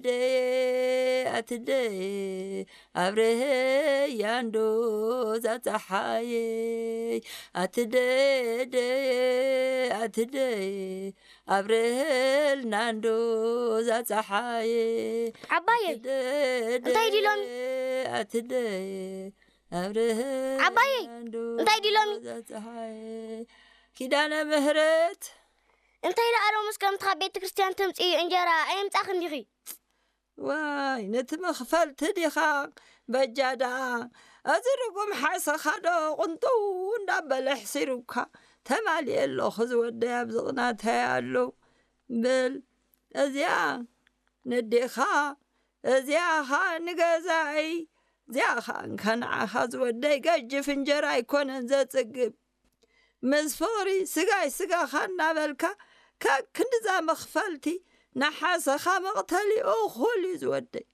ደየ ኣትደየ ኣብርሀያ እንዶ ዛፀሓየይ ኣትደየ ደየ ኣትደየ ኣብርሀልና እንዶ ዛፀሓየ ዓባየይ፣ እንታይ ድዩ ሎሚ? ኣትደየ ኣብርሀልና ዓባየይ፣ እንዶ እንታይ ድዩ ሎሚ? ዛፀሓየ ኪዳነ ምህረት እንታይ ደኣ ሎምስ ከምቲ ካብ ቤተ ክርስቲያን ተምፅኢ እንጀራ ኣየምፃኽን ዲኺ? ዋይ ነቲ መኽፈልቲ ዲኻ በጃ ደኣ እዚ ርጉም ሓሰኻ ዶ ቕንጥው እንዳበለ ኣሕሲሩካ ተማልየ ኣለኹ ዝወደይ ኣብዚ ቕናተይ ኣሎ በል እዚኣ ነዴኻ እዚኣ ኸኣ ንገዛይ እዚኣ ኸኣ ንዓኻ ዝወደይ ገጅፍ እንጀራ ኣይኮነን ዘጽግብ ምስ ፍቕሪ ስጋይ ስጋኻ እናበልካ ከክንድዛ መኽፈልቲ ንሓሰኻ መቕተሊ እኹል እዩ ዝወደይ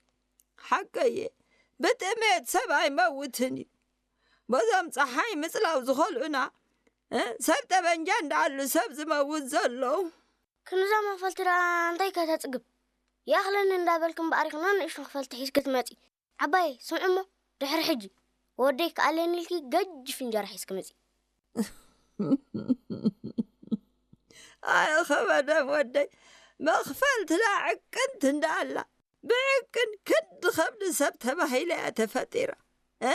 ሓቀየ ብጥሜት ሰብ ኣይመውትን እዩ በዞም ፀሓይ ምፅላው ዝኸልኡና ሰብ ጠበንጃ እንዳኣሉ ሰብ ዝመውት ዘሎ ክንድዛ መኽፈልቲ ደኣ እንታይ ከተፅግብ ይኣኽለኒ እንዳበልክ እምበኣር ኢኽና ንእሽቶ መኽፈልቲ ሒዝኪ ትመፂ ዓባየ ስምዒ እሞ ድሕሪ ሕጂ ወደይ ክኣለኒ ኢልኪ ገጅፍ እንጀራ ሒዝኪ ምፂ ኣየ ኸበደም ወደይ መኽፈልትና ዕቅንት እንዳኣላ ብዕቅን ክንዲ ኸብዲ ሰብ ተባሂላ እያ ተፈጢራ እ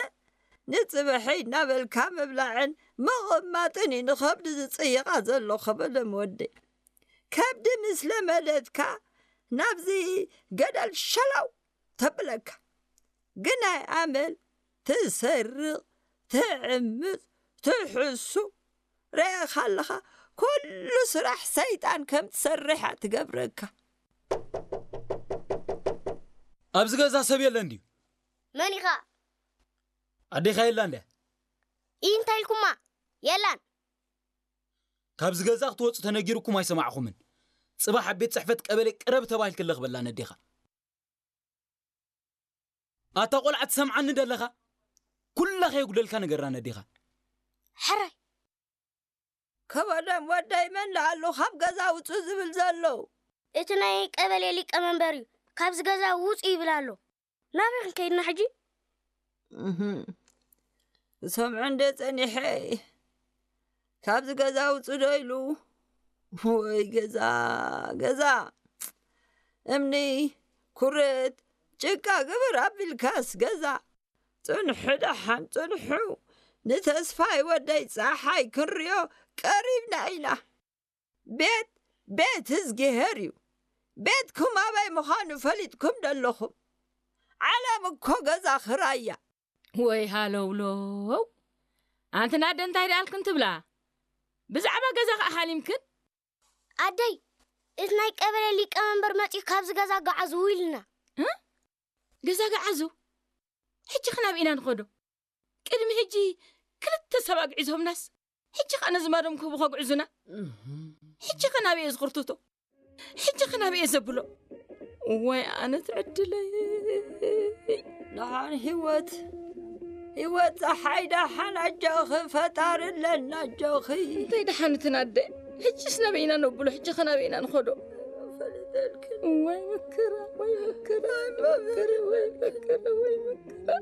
ንፅብሒ እናበልካ ምብላዕን ምቕማጥን እዩ ንኸብዲ ዝፅይቓ ዘሎ ኸበደም ወደይ ከብዲ ምስ ለመደትካ ናብዚ ገደል ሸላው ተብለካ ግናይ ኣመል ትሰርቕ ትዕምፅ ትሕሱ ረኣኻ ኣለኻ ኩሉ ስራሕ ሰይጣን ከም ትሰርሕ እያ ትገብረካ ኣብዚ ገዛ ሰብ የለን ድዩ መን ኢኻ ኣዴኻ የላን ድያ ኢ እንታይ ኢልኩማ የላን ካብዚ ገዛ ክትወፁ ተነጊርኩም ኣይሰማዕኹምን ፅባሕ ኣብ ቤት ፅሕፈት ቀበሌ ቅረብ ተባሂልኪ ኣለኽበላ ነዴኻ ኣታ ቆልዓ ትሰምዓኒ ደለኻ ኩላ ከየጉደልካ ነገራ ነዴኻ ሕራይ ከበደም ወደይ መን ለኣሉ ካብ ገዛ ውፁ ዝብል ዘሎ እቲ ናይ ቀበሌ ሊቀ መንበር እዩ ካብዚ ገዛ ውፁ ይብል ኣሎ ናበይ ክንከይድና ሕጂ እህም። ዝሰምዖ እንደ ጸኒሐ ካብዚ ገዛ ውጹ ዶ ኢሉ ወይ ገዛ ገዛ እምኒ ኩርት ጭቃ ግብር ኣቢልካስ ገዛ ጽንሑ ደሓን ጽንሑ ንተስፋይ ወደይ ጸሓይ ክንሪኦ ቀሪብና ኢና ቤት ቤት እዝጊሄር እዩ። ቤትኩም ኣበይ ምዃኑ ፈሊጥኩም ደለኹም። ዓለም እኮ ገዛ ኽራይ እያ። ወይ ሃለውለው ኣንቲ ናደ እንታይ ደኣልክን ትብላ ብዛዕባ ገዛ ከኣ ሃሊምክን ኣደይ እቲ ናይ ቀበሌ ሊቀመንበር መጺኡ ካብዚ ገዛ ገዓዙ ኢልና ገዛ ገዓዙ ሕጂ ኸ ናበይ ኢና ንኸዶ ቅድሚ ሕጂ ክልተ ሰብ ኣግዒዞምናስ ሕጂ ኸኣ ነዚ ማዶም ክህቡ ከግዕዙና ሕጂ ኸ ናበይ እየ ዝኽርትቶ ሕጂ ኸ ናበይ እየ ዘብሎ ወይ ኣነ ትዕድለይ ደሓን ህይወት ህይወት ፀሓይ ደሓን ኣጆኺ ፈጣሪ ኣለና ኣጆኺ እንታይ ደሓን ትናደ ሕጂስ ናበይ ኢና ነብሎ ሕጂ ኸ ናበይ ኢና ንኸዶ ወይ መከራ ወይ መከራ ወይ መከራ ወይ መከራ ወይ መከራ